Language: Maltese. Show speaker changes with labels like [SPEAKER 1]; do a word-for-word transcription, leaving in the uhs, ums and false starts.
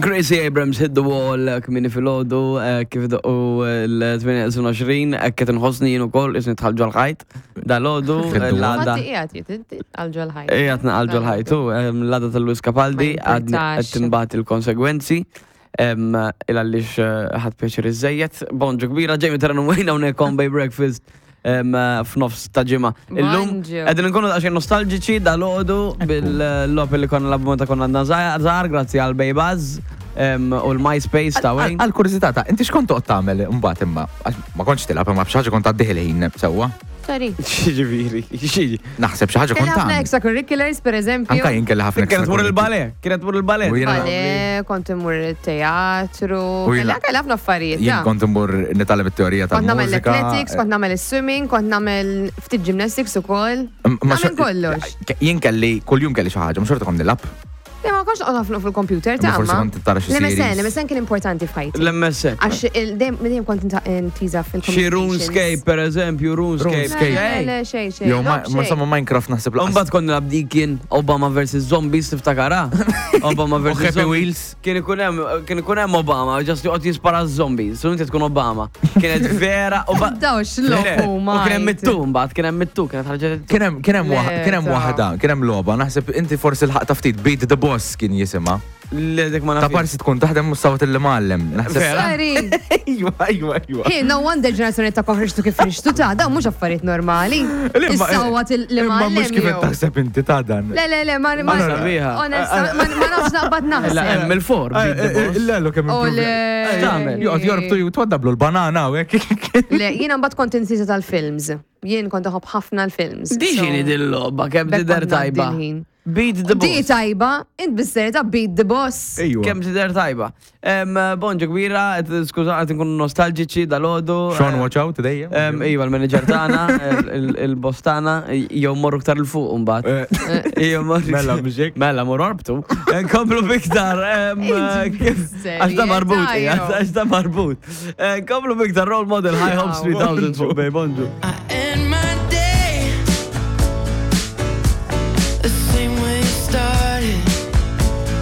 [SPEAKER 1] Gracie Abrams, "Hit the Wall", kmieni filgħodu, kif u l-tmienja u għoxrin, qed nħossni jien ukoll, qisni dħalt ġol-ħajt. Dalgħodu,
[SPEAKER 2] Hit the wall.
[SPEAKER 1] l-għada.
[SPEAKER 3] Fatti qiegħed jitid għal ġol-ħajt.
[SPEAKER 1] Qiegħed naqal ġol-ħajt, u l-għada tal-Lewis Capaldi,
[SPEAKER 3] Ma
[SPEAKER 1] għadni
[SPEAKER 3] jimpurtax.
[SPEAKER 1] qed nbati l-konsegwenzi. Il għaliex ħadt pjaċir iżżejjed. Bonġu kbira, Jamie Terran u Wayne hawnhekk on Bay Breakfast em, f'nofs ta' ġimgħa. Illum
[SPEAKER 3] Bonġu.
[SPEAKER 1] qegħdin nkunu daqsxejn nostalġiċi dalgħodu bil-logħob li konna nilagħbu meta konna għadna żgħar, grazzi għal Bay Buzz em, u l-MySpace ta' Wayne.
[SPEAKER 2] Għal kurżità ta' inti x'kont toqgħod tagħmel imbagħad imma għax ma kontx tilgħab imma b'xi ħaġa kont tgħaddih il-ħin sewwa.
[SPEAKER 3] Sorry.
[SPEAKER 1] Ġifieri, xi.
[SPEAKER 2] Naħseb xi ħaġa
[SPEAKER 3] Kelli
[SPEAKER 2] kont
[SPEAKER 3] ħafna
[SPEAKER 2] tagħmel.
[SPEAKER 3] extracurriculars, per eżempju.
[SPEAKER 2] Anka jien kelli ħafna
[SPEAKER 1] Kienet tmur
[SPEAKER 2] extracurriculars.
[SPEAKER 1] il-ballet, kienet tmur il-ballet.
[SPEAKER 2] U jiena-
[SPEAKER 3] Ballet, kont immur il-teatru,
[SPEAKER 2] U jiena-
[SPEAKER 3] kelli kelli ħafna affarijiet.
[SPEAKER 2] Jien
[SPEAKER 3] ta.
[SPEAKER 2] kont immur nitgħallem it-teorija
[SPEAKER 3] Kont nagħmel
[SPEAKER 2] tal-mużika.
[SPEAKER 3] l-athletics, kont nagħmel il-swimming, kont nagħmel ftit gymnastics ukoll.
[SPEAKER 2] Ma
[SPEAKER 3] Nagħmel
[SPEAKER 2] xor-
[SPEAKER 3] kollox.
[SPEAKER 2] Jien kelli kuljum kelli xi ħaġa, mhux xorta kont nilgħab.
[SPEAKER 3] Le, ma kontx noqgħod ħafna fil-computer ta'
[SPEAKER 2] Imma forsi
[SPEAKER 3] ma.
[SPEAKER 2] kont tara xi
[SPEAKER 3] L-M S N,
[SPEAKER 2] series.
[SPEAKER 3] l-M S N kien importanti f'ħajti.
[SPEAKER 1] L-M S N.
[SPEAKER 3] Għax il- dejjem dejjem kont inta- intiża
[SPEAKER 1] Xi
[SPEAKER 3] fil-communications.
[SPEAKER 1] RuneScape, per eżempju, RuneScape.
[SPEAKER 2] RuneScape.
[SPEAKER 3] Le, le, xej, xej.
[SPEAKER 2] Jew ma
[SPEAKER 3] Logħob
[SPEAKER 2] ma
[SPEAKER 3] xej.
[SPEAKER 2] insomma Minecraft naħseb laqas.
[SPEAKER 1] Umbagħad konna nilagħbu dik Obama versus Zombies, tiftakarha? Obama
[SPEAKER 2] U
[SPEAKER 1] versus
[SPEAKER 2] Happy
[SPEAKER 1] Zombies.
[SPEAKER 2] Wheels.
[SPEAKER 1] Kien ikun hemm kien ikun hemm Obama, just joqgħod jispara zombies, u inti tkun Obama. Kienet vera u ba-
[SPEAKER 3] Dawx
[SPEAKER 1] Le,
[SPEAKER 3] logħob
[SPEAKER 1] U kien hemm it-two mbagħad, kien hemm it-two, kienet ħarġet it-two.
[SPEAKER 2] Kien hemm kien hemm
[SPEAKER 3] Le,
[SPEAKER 2] waħ- kien hemm
[SPEAKER 3] ta'
[SPEAKER 2] waħda, kien hemm logħba, naħseb inti forsi l-ħaqta ftit, Beat the Boss kien jisimha.
[SPEAKER 1] Le, dik ma
[SPEAKER 2] Ta'
[SPEAKER 1] nafx.
[SPEAKER 2] parsi tkun taħdem mustawat il-mallem. Naħseb.
[SPEAKER 1] Vera?
[SPEAKER 3] Sorry.
[SPEAKER 2] Ejwa, ejwa, ejwa.
[SPEAKER 3] Hey, no wonder ġenerazzjoni ta' ħriġtu kif ħriġtu ta' dawn mhux affarijiet normali. Is-sawat
[SPEAKER 2] Imma mhux kif
[SPEAKER 3] il-mallem.
[SPEAKER 2] taħseb inti ta' dan.
[SPEAKER 3] Le, le, le, ma ma
[SPEAKER 1] Sabiħa.
[SPEAKER 3] Onesta, ma ma nafx naqbad
[SPEAKER 1] La
[SPEAKER 3] naħseb.
[SPEAKER 1] hemm il-four, Beat the Boss.
[SPEAKER 2] Le, lo kemm
[SPEAKER 3] U le.
[SPEAKER 1] X'tagħmel?
[SPEAKER 2] Joqgħod jorbtu jitwaddablu l-banana u hekk.
[SPEAKER 3] Le, jiena mbagħad kont insisa tal-films. Jien kont uħobb ħafna l-films.
[SPEAKER 1] Di
[SPEAKER 3] So,
[SPEAKER 1] x'inhi dil-logħba kemm
[SPEAKER 3] bekk
[SPEAKER 1] tidher
[SPEAKER 3] kont ngħaddi
[SPEAKER 1] tajba.
[SPEAKER 3] l-ħin.
[SPEAKER 1] Beat the
[SPEAKER 3] Di
[SPEAKER 1] Boss.
[SPEAKER 3] tajba, int bis-serjetà Beat the Boss.
[SPEAKER 2] Ejwa.
[SPEAKER 1] Kemm tidher tajba. Em, Bonġu kbira, qed- skuża, qed nkunu nostalġiċi dalgħodu.
[SPEAKER 2] Sean, watch out dejjem.
[SPEAKER 1] Em, Iva, il-manager tagħna, il- il- il-boss tagħna, jew morru ktar 'il fuq mbagħad. Jew morru.
[SPEAKER 2] Mela, mhux hekk?
[SPEAKER 1] Mela, morru orbtu. Nkomplu biktar. em, kif- Għax ta' marbut,
[SPEAKER 3] Serjetà,
[SPEAKER 1] għax ta' marbut. Nkomplu biktar Role Model, High Hopes
[SPEAKER 3] Wow.
[SPEAKER 1] three thousand fuq Bay, bonġu.